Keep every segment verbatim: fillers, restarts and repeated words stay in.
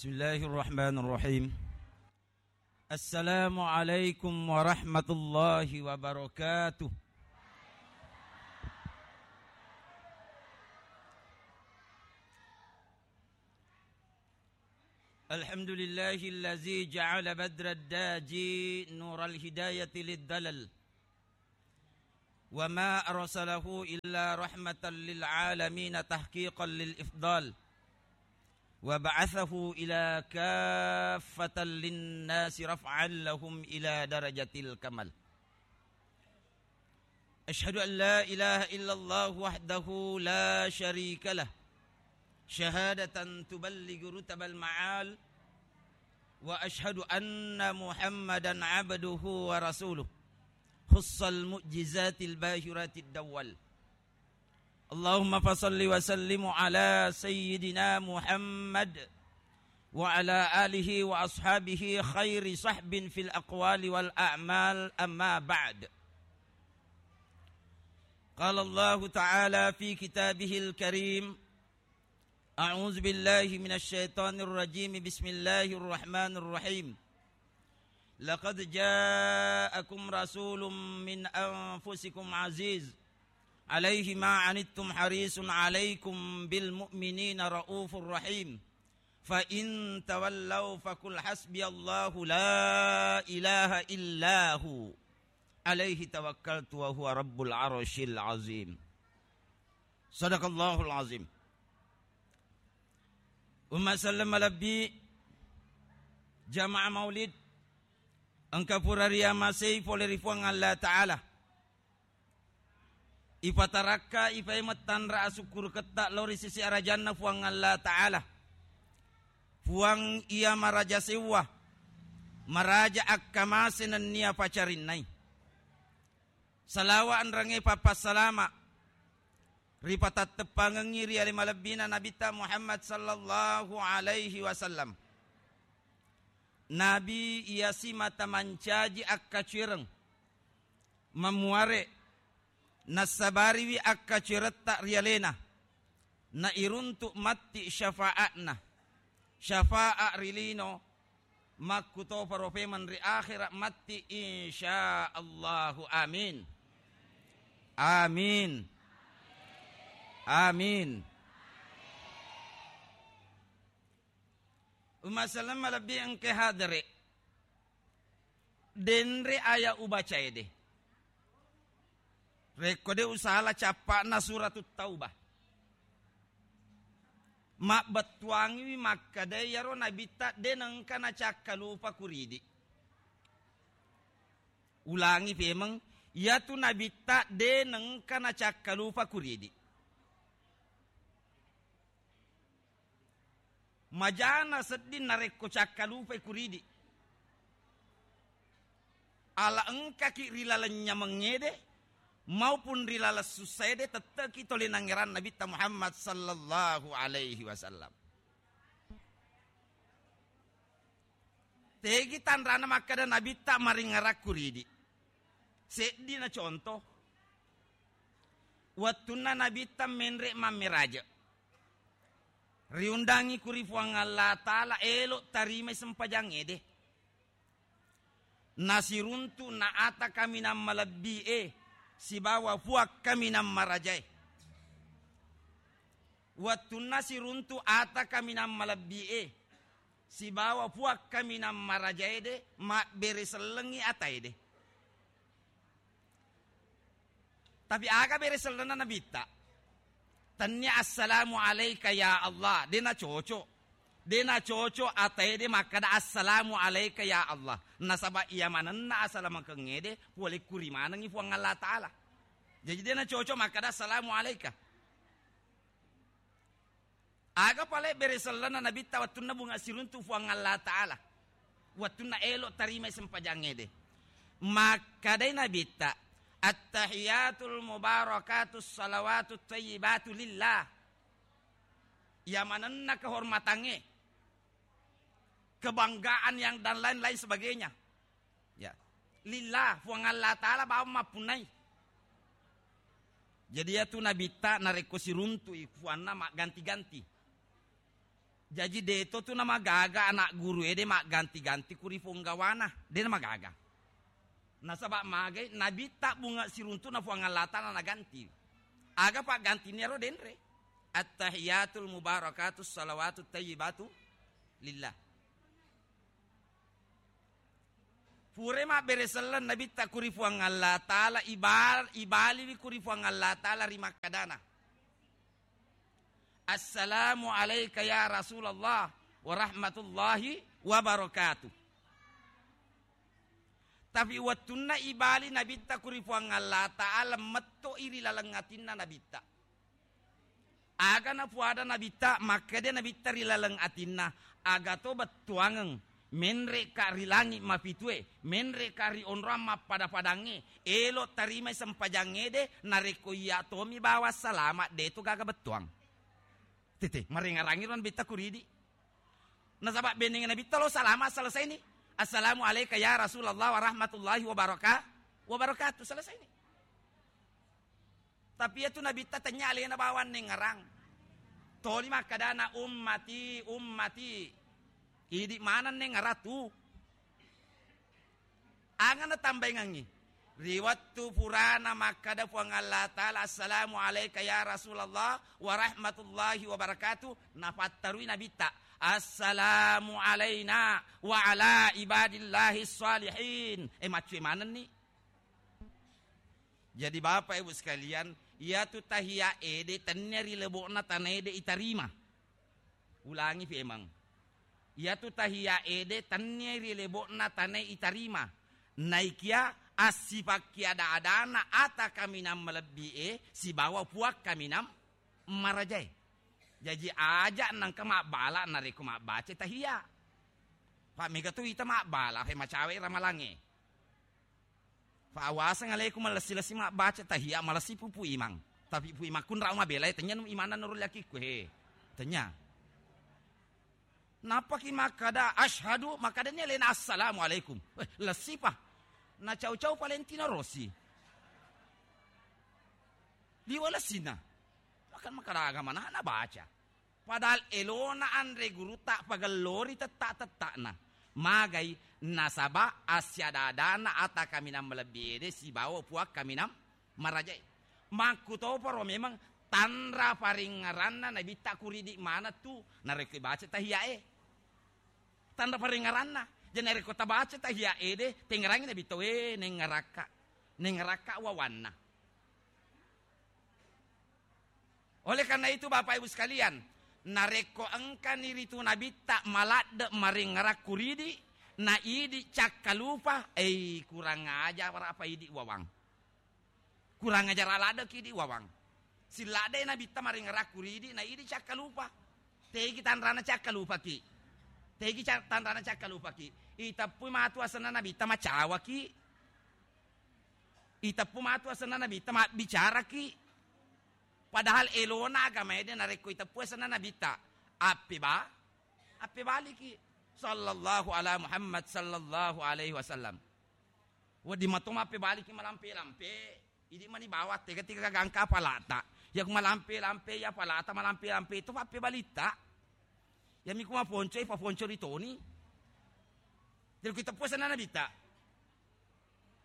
بسم الله الرحمن الرحيم. السلام عليكم ورحمة الله وبركاته. الحمد لله الذي جعل بدر الداجي نور الهداية للدلل، وما أرسله إلا رحمة للعالمين تحقيقا للإفضال، وبعثه إلى كافة للناس رفعا لهم إلى درجة الكمال. أشهد أن لا إله إلا الله وحده لا شريك له، شهادة تبلغ رتب المعال، وأشهد أن محمدا عبده ورسوله، خص المعجزات الباهرات الدول. اللهم فصل وسلم على سيدنا محمد وعلى آله وأصحابه خير صحب في الأقوال والأعمال، أما بعد. قال الله تعالى في كتابه الكريم: أعوذ بالله من الشيطان الرجيم. بسم الله الرحمن الرحيم. لقد جاءكم رسول من أنفسكم عزيز عليه ما عنتم حريص عليكم بالمؤمنين رءوف رحيم. فإن تولوا فقل حسبي الله لا إله إلا هو عليه توكلت وهو رب العرش العظيم. صدق الله العظيم. Umma selleng malebbi, jamaah maulid, engka pura riamasei pole ri Puang Allah Ta'ala. Ipatarakka, ipaimeng tanra asukkuruketta lao ri sisi arajanna Puang Allah Ta'ala. Puang iya maraja sewwa, maraja akkamase nennia pacarinnai. Salawa enrengnge pappassalama ripatetteppangengngi ri ale malebbina Nabitta Muhammad sallallahu alaihi wasallam. Nabi iya simata mancaji akkacuereng, mamuare, nassabariwi akkacueretta ri alena, nairuntu matti syafaatna, syafaat ri lino, makkutoparo pemeng ri akhera matti, insya Allahu. Amin. Amin. Amin. Umma selleng malebbi engke hadere. Denre aya ubacae de. Rekko de usala cappa'na Suratut Taubah. Mabbettuangiwi makkeda iyaro Nabitta de nengka nacakkalupa kuridi. Ulangi pemeng, iyatu Nabitta de nengka nacakkalupa kuridi. Majana sedding narekko cakkalupai kuridi. Ala engkaki ri laleng nyamengngede maupun ri laleng sussaede, tette'ki tole nangngerang Nabitta Muhammad sallallahu alaihi wasallam. Tegi tanrana makkeda Nabitta maringngerang kuridi. Seddina contoh. Wettunna Nabitta menre mammeraje, riundangi kuri Puang Allah Ta'ala, elo tarimai sempajangngede. Nasiruntu na ata kaminang malebbi'e sibawa Puang kaminang marajae. Wettunna siruntu ata kaminang malebbi'e sibawa Puang kaminang marajaede, mabbere sellengngi ataede. Tapi aga bere sellenna Nabitta? Tennia, "Assalamu alaika ya Allah." De nacoco. De nacoco ataede makkeda, "Assalamu alaika ya Allah." Nasaba iya manenna asalamakengngede pole kuri manengngi Puang Allah Ta'ala. Jaji de nacoco makkeda, "Assalamu alaika." Aga pale bere sellenna Nabitta wettunna bunga siruntu Puang Allah Ta'ala, wettunna elo tarimai sempajangngede? Makkedai Nabitta, "Attahiyatul mubarakatus salawatut thayyibatu lillah." Iya manenna kehormatangnge, kebanggaan yang dan lain-lain sebagainya. Ya. Lillah, Puang Allah Ta'ala bawang mappunnai. Jadi, iyatu Nabitta narekko siruntu'i puanna magganti-ganti. Jaji, deto tu namagaga ana' guru ede magganti-ganti ku ri ponggawana, de namagaga. Nasaba magai Nabitta bunga siruntu'na Puang Allah Ta'ala naganti. Aga paggantinna ro denre? Attahiyatul mubarakatus salawatut tayyibatu lillah. Pura mabbere selleng Nabitta ku ri Puang Allah Ta'ala, ibal-, ibaliwi ku ri Puang Allah Ta'ala ri makkadana, "Assalamu alaika ya Rasulullah wa rahmatullahi wa barakatuh." Tapi wettunna ibali Nabitta ku ri Puang Allah Ta'ala, metto'i ri laleng atinna Nabitta. Aga napuada Nabitta, makkeda Nabitta ri laleng atinna, "Aga to bettuangeng, menre'ka ri langi' mapitue, menre'ka ri onrong mappada-padangnge, elo' tarimai sempajangngede, narekko iya' tomi bawang salama', de to gaga bettuang." Tete, marengarangi ro Nabitta ku ridi. Nasaba benengnge Nabitta lo salama', selesai ni. "Assalamu alaika ya Rasulullah wa rahmatullahi wa baraka-, wa barakatuh." Selesai ni. Tapi iyatu Nabitta tennya alena bawang nengngerang. Toli makkadana, "Ummati, ummati." Idi maneng nengngerang tu. Aga natambaingengngi? Ri wettu purana makkada Puang Allah Ta'ala, "Assalamu alaika ya Rasulullah wa rahmatullahi wa barakatuh," nafattarui Nabitta, "Assalamu alaina wa ala ibadillahi shalihin." Eh, maccue manenni. Jadi, Bapak Ibu sekalian, iyatu tahiyya ede tennia ri lebo'na tana ede itarima. Ulangi pemeng. Iyatu tahiyya ede tennia ri lebo'na tana itarima. Naikia assipakki ada-adana ata kaminang malebbi e sibawa puang kaminang marajae. Jaji, aja nengka mabbala narekko mabbaca tahiyya. Pa mega tu ita mabbala, he macawe ramalangnge. Fa awaseng alaikum, malessi-lessi mabbaca tahiyya, malessi pupu imang. Tapi pu imang kunrau mabela, eh, tennya nu imanna nurul yakikku, he. Tennya. Nappaki makkada, "Asyhadu," makkadani alena, "Assalamualaikum." Eh, lessi pa. Na cau-cau palentino rosi. Liwa lessina. Makan makkada agama na, na baca. Padahal elona anre gurutta pagellori tetta-tetta'na. Magai nasaba assiada-adana ata kaminang malebbi ede sibawa puang kaminang marajae. Makkutoparo memeng tanra paringngeranna Nabitta kuridi maneng tu narekko ibaca tahiyyae. Tanra paringngeranna. Jadi narekko tabaca tahiyya ede, tengngerangi Nabitta, "We, nengngerakka. Nengngerakka wawanna." Oleh karena itu, Bapak Ibu sekalian, narekko engkani ritu Nabitta maladde maringngerang kuridi, na idi cakkalupa, ei, kurang ajar apa idi wawang. Kurang ajar aladdeki idi wawang. Silladdei Nabitta maringngerang kuridi, na idi cakkalupa. Tegi tanrana cakkalupaki. Tegi ca-, tanrana cakkalupaki. Iteppui matu asenna Nabitta macawaki. Iteppu matu asenna Nabitta mabbicaraki. Padahal elona agama ede narekko iteppu asenna Nabitta. Appeba-, appebaliki. Sallallahu ala Muhammad sallallahu alaihi wasallam. Wedding mato mappebaliki malampe-lampe. Idi mani bawang tega-tega gangka apalata. Yaku malampe-lampe, ya apalata malampe-lampe itu pappebalitta. Yami ku maponco, ipaponco ritoni. Jadi ku iteppu asenna Nabitta.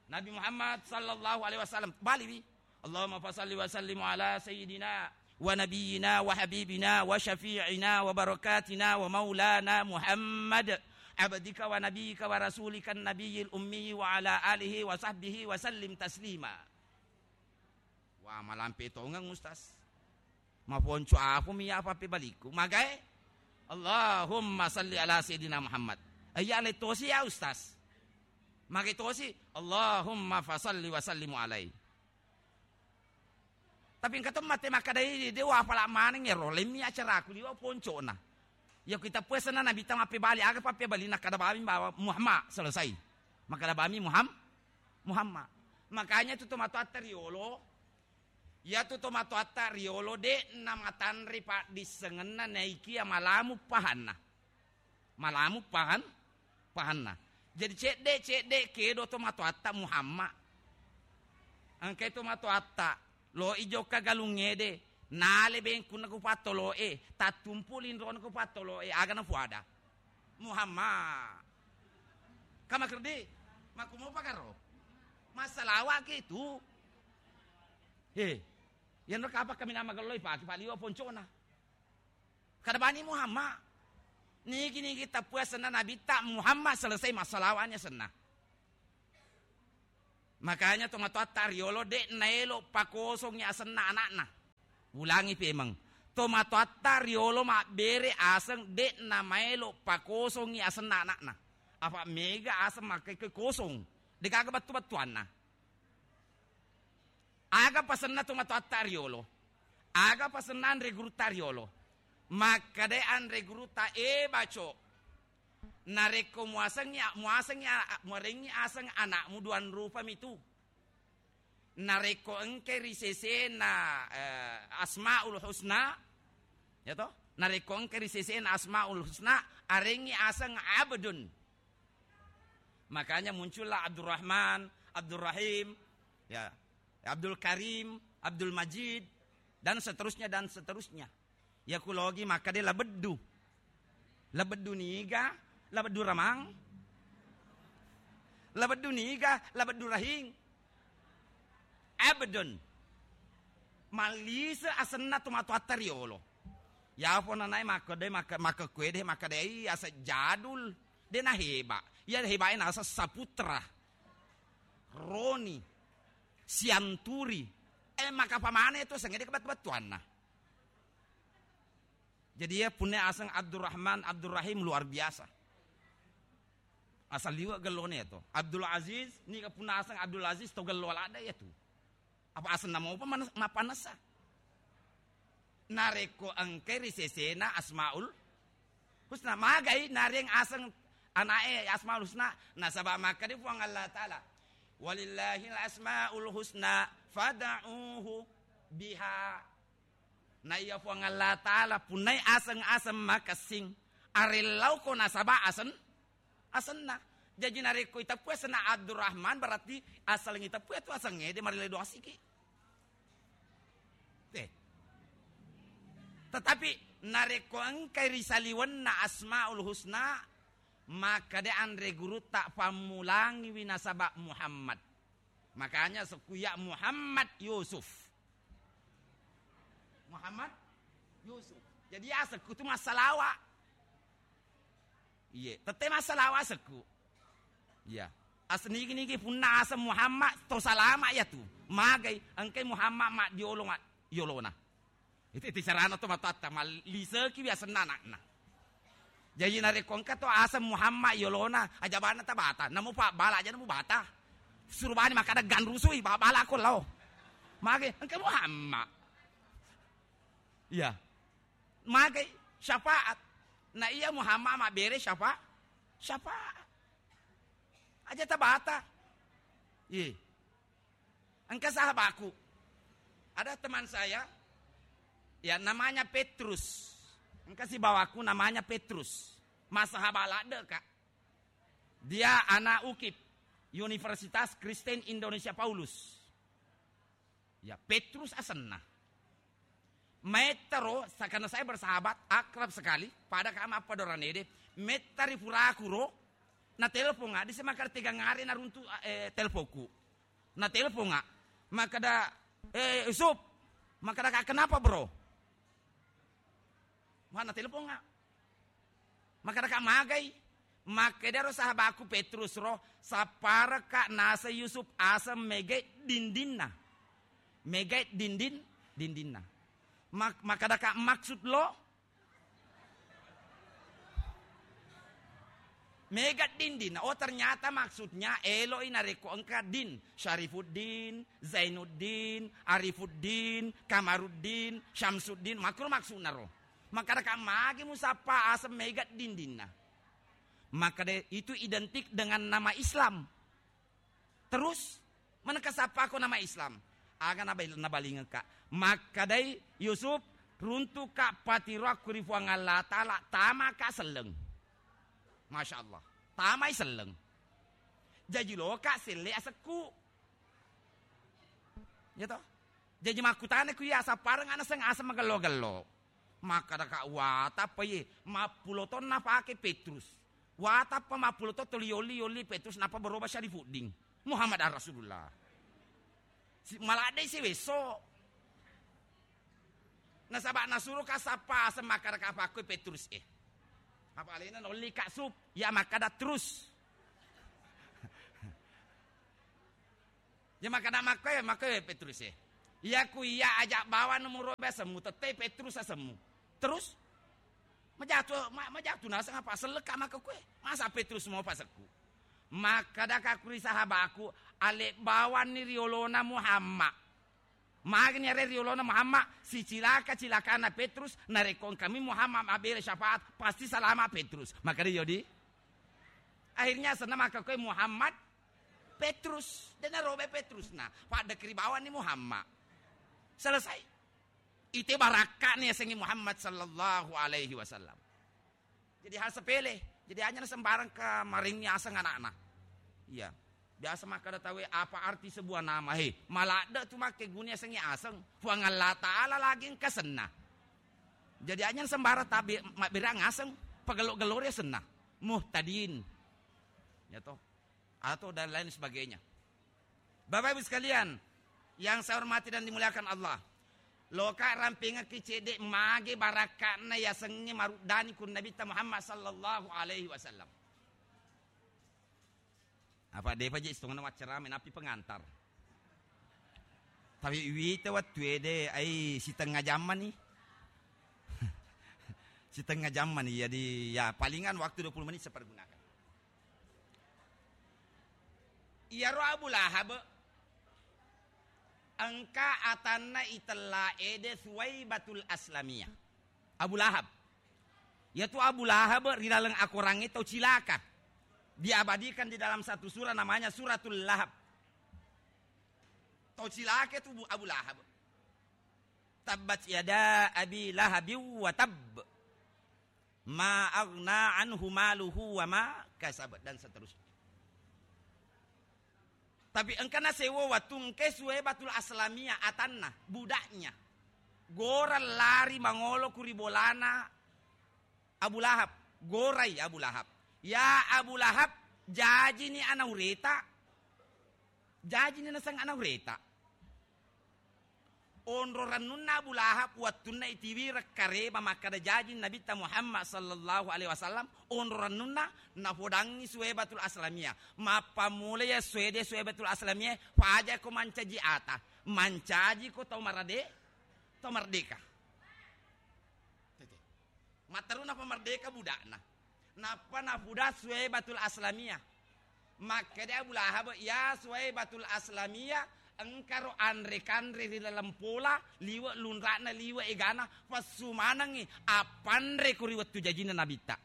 Nabi Muhammad sallallahu alaihi wasallam. Baliwi. Allahumma fasalli wa sallim ala sayyidina wa nabiyyina wa habibina wa syafi'ina wa barakatina wa maulana Muhammad abdika wa nabiyyika wa rasulika nabiyil ummi wa ala alihi wa sahbihi wa sallim taslima. Wah, malampe tongeng, Ustaz. Maponco apumi ya apa pe balikku. Magae? Allahumma salli ala sayyidina Muhammad. Iya, ale tosi ya, Ustaz. Magae tosi? Allahumma fasalli wa sallimu alai. Tapi engka to mate makkadai, de wa apala maneng ero, lemmi acaraku liwa poncona. Ya ku iteppu asenna Nabitta mappebali, aga pappebalina, kada bami bawa Muhammad, selesai. Makkada bami Muham-, Muhammad. Makanya tu tomatoatta riolo, iyatu tomatoatta riolo de namatanre paddissengenna naikia malamu pahanna. Malamu pahan-, pahanna. Jadi cedde-cedde kedo tomatoatta Muhammad. Engkai tomatoatta lo i jokka galungngede, Nale bengkunna ku pattolo'e, tattumpu linrona ku pattolo'e, aga nafuada? Muhammad. Kamakerdi, makkumopa karo? Massalawa ki tu. He, yanro kapa kaminang magelloi paki, paliwa poncona. Kada bani Muhammad. Nigi-nigi tappue asenna Nabitta Muhammad, selesai massalawanya asenna. Makanya tomatoatta riolo de' naelo pakosongi asenna anakna. Ulangi pemeng. Tomatoatta riolo mabbere aseng de' namaelo pakosongi asenna anakna. Apa mega aseng makkekke kosong. Degaga bettu-bettuanna. Aga pasenna tomatoatta riolo? Aga pasenna anre gurutta riolo? Makkeda anre gurutta, "E baco, narekko muasengi, muasengi, muarengi aseng anakmu, duan rupa mitu. Narekko engke ri sesena, eh, Asmaul Husna, ya toh? Narekko engke ri sesena Asmaul Husna, arengi aseng Abdun." Makanya muncullah Abdurrahman, Abdurrahim, ya, Abdul Karim, Abdul Majid, dan seterusnya, dan seterusnya. Ya kulogi makkeda labeddu. Labeddu niga, labeddu ramang. Labeddu niga, labeddu rahing. Abdun. Mallise asenna tomatoatta riolo. Yapo nanae makkedai, makka-, makkakkue de, makkedai ase jadul. De naheba. Iya hebae nasa Saputra. Roni. Sianturi. Eh, maka pamane tu asengnge de kebattu-battuanna. Jadi ya, punna aseng Abdurrahman, Abdurrahim luar biasa. Asal liwe gellone ya to. Abdul Aziz, niga punna aseng Abdul Aziz to gello ladde ya tu. Apa asenna mopa manes-, mapanessa? Narekko engkai ri sesena Asmaul Husna, magai nareng aseng anake Asmaul Husna, nasaba makkeda Puang Allah Taala, "Walillahil asmaul husna fad'uhu biha." Na iya Puang Allah Taala punnai aseng-aseng makessing, arellauko nasaba asen-, asenna. Jaji narekko iteppui asenna Abdurrahman, berarti asaleng iteppui tu asengnge de marelle doasiki. Te. Tetapi narekko engkai ri saliwenna Asmaul Husna, makkeda anre gurutta, pammulangiwi nasaba Muhammad. Makanya sekku ya Muhammad Yusuf. Muhammad Yusuf. Jadi asekku tu massalawa. Iye, tette massalawa asekku. Iya. As nigi-nigi punna aseng Muhammad to salama ya tu. Magai engkai Muhammad maddiolo ma-, yolona. Itu, itu carana to matoatta, malliseki wi asenna anakna. Jaji narekko engka to aseng Muhammad yolona, aja bana tabata, namu pabbala aja namu bata. Suru bani makkada ganrusui, ba-, bala ko lao. Mage, engka Muhammad. Iya. Mage syafaat. Na iya Muhammad mabbere syafa-, syafaat. Aja tabata. Iya. Engka sahabaku. Ada teman saya, ya, namanya Petrus. Engka sibawaku namanya Petrus. Massahaba ladde, Kak. Dia anak UKIP, Universitas Kristen Indonesia Paulus. Ya, Petrus asenna. Maettaro, sa-, karena saya bersahabat, akrab sekali, pada kama apa doranede, mettari puraku ro, na telponga, di semakar tegang hari na runtu, eh, telponku. Na telponga, makkada, "Eh, Yusuf," makkada, "Kak, kenapa, bro?" Mana telponga. Makkada, "Kak, magai?" Makkedaro sahabaku Petrus ro, "Sapparaka naseng Yusuf aseng mege dindinna." Mege dindin, dindinna. Mak-, makkada, "Kak, maksud lo?" Mega dindin. Oh, ternyata maksudnya eloi narekko engka din. Syarifuddin, Zainuddin, Arifuddin, Kamaruddin, Syamsuddin. Makkuro maksudna ro. Makkada, "Kak, magi musappa aseng mega dindinna?" Makkada, "Itu identik dengan nama Islam." Terus, manengka sappako nama Islam. Aga nabal-, nabalingengka. Makkadai Yusuf, "Runtuka patiroakku ri Puang Allah Ta'ala, tamaka selleng." Masya Allah. Tamai selleng. Jaji loka selle asekku. Ya toh? Jaji makkutana ku iya sappareng ana seng aseng magello-gello. Makkadaka, "Watappa iye, mappulo tonna pake Petrus. Watappa mappulo to toli yolli-yolli Petrus nappa berubah syari fudding. Muhammad ar Rasulullah." Si-, maladdei siwesso. Nasaba nasuro ka sappa aseng makkadaka pakkoi Petrus e. Apa alena nolli ka sup, ya makkada terus. Ya makkada makkoe, makkoe Petrus e. Iya ku iya ajak bawang nomoro asemmu, tette Petrus asemmu. Terus majatu, ma-, majatu naseng apa selleka maka kue. Masa Petrus mau pasekku. Makkadaka ku ri sahabaku, ale bawanni riolona Muhammad. Magani are riolona Muhammad, sicilaka-cilakana Petrus, narekko engkami Muhammad mabbere syafaat, pasti salama Petrus. Makkada yodi. Akhirnya senna maka kue Muhammad Petrus, dena robe Petrus na, pada kiri bawanni Muhammad. Selesai. Ite barakka'na yasengnge Muhammad sallallahu alaihi wasallam. Jadi hal sepele. Jadi hanya sembarang ke maringi aseng anakna. Iya. Biasa makkada tawe, "Apa arti sebuah nama?" He, maladde tu makkeguni yasengnge aseng. Puang Allah Ta'ala lagi engka senna. Jadi hanya sembarang tabe mabbere aseng. Pagello-gello ri senna. Muhtadin. Ya toh. Atau dan lain sebagainya. Bapak Ibu sekalian yang saya hormati dan dimuliakan Allah, loka rampingekki cedde mage barakka'na yasengnge maruddani kun Nabitta Muhammad sallallahu alaihi wasallam. Apa depa je istongenna waccarame napi pengantar. Tapi wita wettu ede ai sitengnga jammani. Sitengnga jammani, jadi ya palingan waktu dua puluh menit saya pergunakan. Iyaro Abu Lahab engka atanna itella ede Suwaibatul Aslamiyah. Abu Lahab. Yatu Abu Lahab ri laleng akorangnge tau cilaka. Diabadikan di dalam satu surah namanya Suratul Lahab. Tau cilaka tu Bu-, Abu Lahab. Tabbat yada Abi Lahabin wa tabb. Ma aghna anhu maluhu wa ma kasab, dan seterusnya. Tapi engka nasewo wettu engka Suwaibatul Aslamiyah atanna, budaknya. Gora lari mangolo ku ri bolana Abu Lahab. Gorai Abu Lahab. Ya Abu Lahab, jajini ana ureta. Jajini naseng ana ureta. Onro rennunna Abu Lahab wettunna itiwi rekkareba makkada jaji Nabitta Muhammad sallallahu alaihi wasallam, onro rennunna napodangngi Suwaibatul Aslamiyah. Mappammula ya Suwede Suwaibatul Aslamiyah, pajako mancaji ata, mancajiko tau marade-, tau merdeka. Tete. Matteru napamerdeka budakna. Nappa napuda Suwaibatul Aslamiyah. Makkeda Abu Lahab, "Ya Suwaibatul Aslamiyah, engkaro anre-kanre ri laleng pola, liwe' lunra'na, liwe' egana, pessu manengngi appanre ku ri wettu jajinna Nabitta."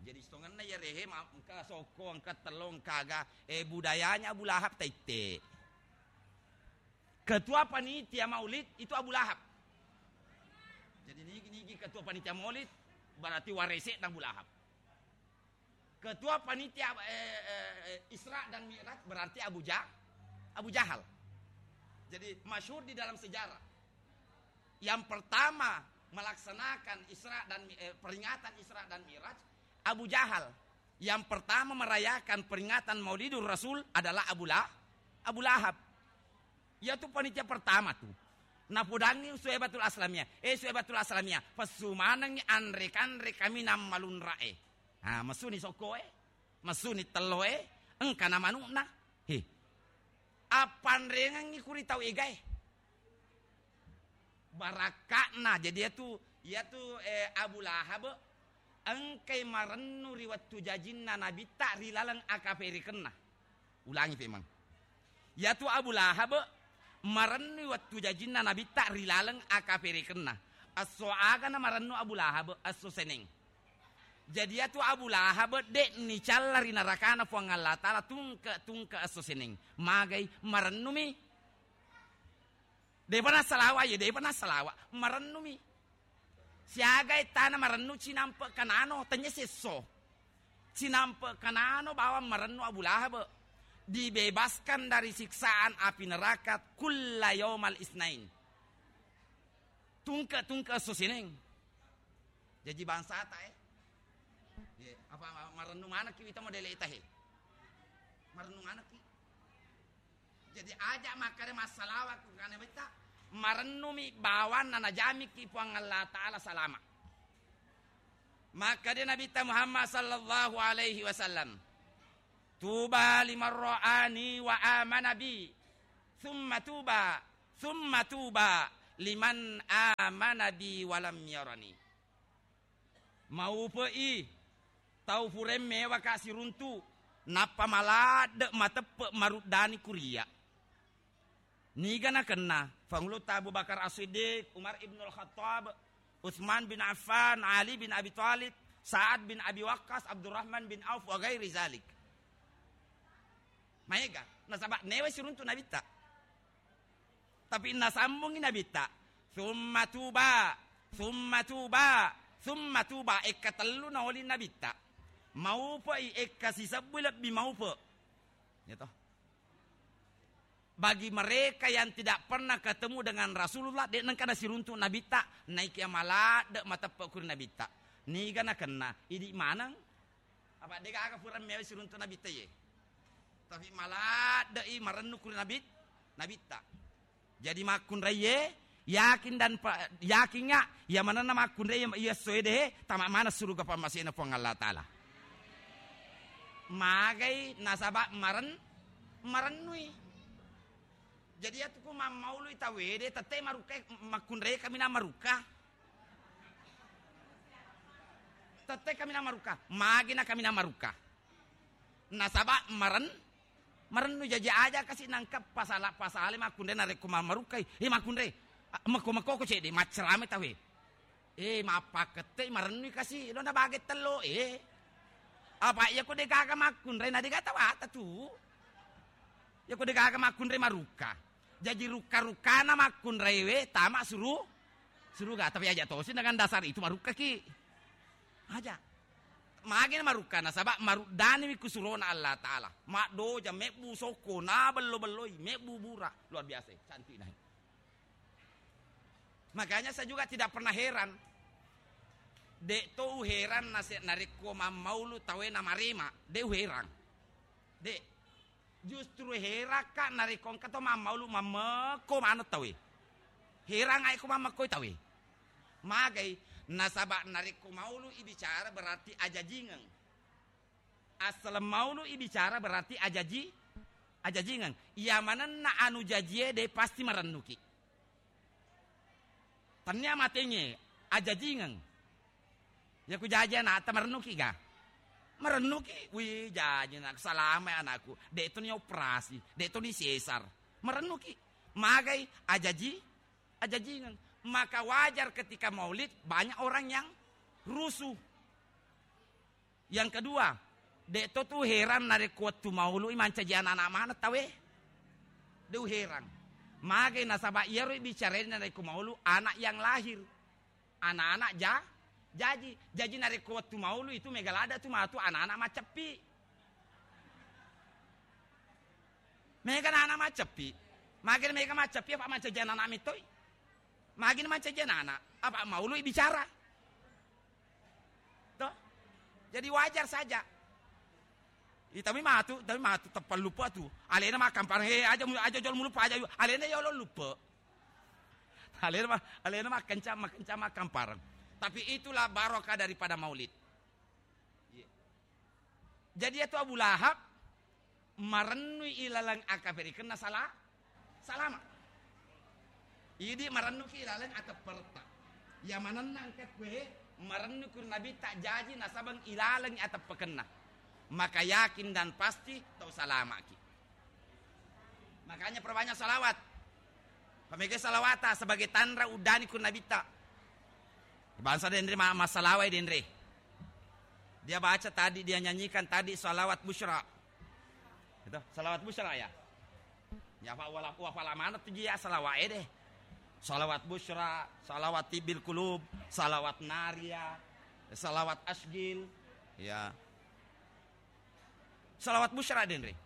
Jadi, sitongenna iya rehe, ma-, engka sokko, engka tello, engka aga, eh, budayanya Abu Lahab taitte. Ketua panitia maulid itu Abu Lahab. Jadi nigi-nigi ketua panitia maulid berarti warese'na Abu Lahab. Ketua panitia, eh, eh, eh, Isra dan Mi'raj berarti Abu Ja-, Abu Jahal. Jadi masyhur di dalam sejarah. Yang pertama melaksanakan Isra dan Mi-, eh, peringatan Isra dan Mi'raj, Abu Jahal. Yang pertama merayakan peringatan Maulidur Rasul adalah Abu La-, Abu Lahab. Iyatu panitia pertama tu. Napodangngi Suwaibatul Aslamiyah. Eh, Suwaibatul Aslamiyah, pessu manengngi anre-kanre kaminang malunra'e. Ah, messuni sokkoe, messuni telloe, engkana manu'na. He. Appanrengengngi kuri tau egae. Barakka'na. Jadi iyatu, iyatu, eh, Abu Lahab engkai marennu ri wettu jajinna Nabitta ri laleng akaperekenna. Ulangi pemeng. Iyatu Abu Lahab marennu wettu jajinna Nabitta ri laleng akaperekenna. Esso agana marennu Abu Lahab? Esso Seneng. Jadi iyatu Abu Lahab de'ni calla ri narakana Puang Allah Ta'ala tungke-tungke esso Seneng. Magai? Marennumi. De'pa nassalawa, ye, de'pa nassalawa. Marennumi. Siaga ettana marennu cinampe kanano, tanya sesso. Cinampe kanano bawang marennu Abu Lahab. Dibebaskan dari siksaan api neraka kulla yaumal isnain. Tungke-tungke esso sining. Jaji bangsata, eh. Ye, apa ma-, marennu manekki wita modele ita, he. Marennu manekki. Jadi aja makkeda massalawa ku kana betta. Marennumi bawanna najamikki Puang Allah Ta'ala salama. Makkeda Nabitta Muhammad sallallahu alaihi wasallam, "Tuba liman ra'ani wa amana bi, thumma tuba, thumma tuba liman amana bi wa lam yarani." Maupe'i tau puraeng mewaka siruntu, nappa maladde mateppe maruddani kuria. Niga nakenna Fangulutta Abu Bakar As-Siddiq, Umar ibnul Khattab, Utsman bin Affan, Ali bin Abi Thalib, Sa'ad bin Abi Waqqas, Abdurrahman bin Auf, wa ghairi zalik. Maega, nasaba newe siruntu Nabitta. Tapi nasambungi Nabitta, "Tsumma tuba, tsumma tuba, tsumma tuba." Ekka tellu naoli Nabitta. Maupe'i ekka sisebbu lebbi maupe. Ya toh. Bagi mereka yang tidak pernah ketemu dengan Rasulullah, de' nengka nasiruntu Nabitta, naiki maladde mateppe kuri Nabitta. Niga nakenna, idi maneng. Apa degaga pura mewa siruntu Nabitta ye. Tapi maladde'i marennu kuri Nabit-, Nabitta. Jadi makkunraiye, yakin dan pa-, yakinga, iya manenna makkunrai iya essoe de, tama mana suruga pammasena Puang Allah Ta'ala. Magai nasaba maren-, marennui. Jadi iyatu ku mammaului tauwe de, tette marukka, makkunrai kaminang marukka. Tette kaminang marukka, magi na kaminang marukka. Nasaba maren-, marennu jaji aja kasi nangka pasala-, pasale makkunrai narekko ma-, marukkai. Eh, makkunrai, a, mekko-mekko ko cedde, maccerame tauwe. Eh, mappakkette marennui kasi, lo na bage tello, eh. Apa iya ko degaga makkunrai na dega tawata tu. Iya ko degaga makkunrai marukka. Jaji rukka-rukkana makkunraiwe tama suru-, suruga. Tapi aja tosi dengan dasar itu marukkaki. Aja. Magi na marukka nasaba maruddani mi kusurona Allah Ta'ala. Maddoja, mebbu sokko, na bello-belloi, mebbu bura. Luar biasa, cantik nah. Makanya saya juga tidak pernah heran. Dek to uheran nase-, narekko mammaulu tauwe namarema, dek uheran. Dek. Justru herakka narekko engka to mammaulu mammekko maneng tauwe. Herang ai ko mammekkoi tauwe. Magai, nasaba narekko maului bicara berarti ajajingeng. Assaleng maului bicara berarti ajaji-, ajajingeng. Iya manenna anu jajie de pasti marennuki. Tennia matengnge, ajajingeng. Iya ku jaji anakta, marennuki ga? Marennuki, wih, jaji anak, salama anakku. Dek to ni operasi, dek to ni sesar. Marennuki. Magai, ajaji, ajajingeng. Maka wajar ketika maulid, banyak orang yang rusuh. Yang kedua, dek to tu heran narekko wettu maului mancaji anak-anak maneng tauwe. De uheran. Magai nasaba iyaro bicarai narekko maulu anak yang lahir. Anak-anak ja-, jaji. Jaji narekko wettu maulu itu mega ladde tu matu anak-anak maceppi. Mega anak-anak maceppi. Magai mega maceppi apa mancaji anak-anak metoi? Magi na mancaji anak-anak, apa maului bicara. Toh? Jadi wajar saja. Ih, tapi matu, tapi matu, teppang lupa tu. Alena makkampareng, eh, aja mu-, aja jolo mulupa, aja yu-, alena yolo lupa. Alena ma-, alena makkencang, makkencang makkampareng. Tapi itulah barokah daripada maulid. Iya. Jadi, iyatu Abu Lahab marennui ilaleng akaferikenna sala-, salama. Idi marennuki ilaleng atepperetta. Iya manenna engka kue marennu kuri Nabitta jaji nasabeng ilaleng ateppekenna. Maka yakin dan pasti tau salamaki. Makanya perbanyak salawat. Pamega salawata sebagai tanra uddani ku Nabitta. Bangsa denre ma-, massalawai denre. Dia baca tadi, dia nyanyikan tadi salawat busyra. Itu, salawat busyra ya. Ya, Pak, wala-, wafala mana tu dia salawat deh. Salawat busyra, salawat tibbil kulub, salawat naria, salawat asgil. Ya. Salawat busyra denre.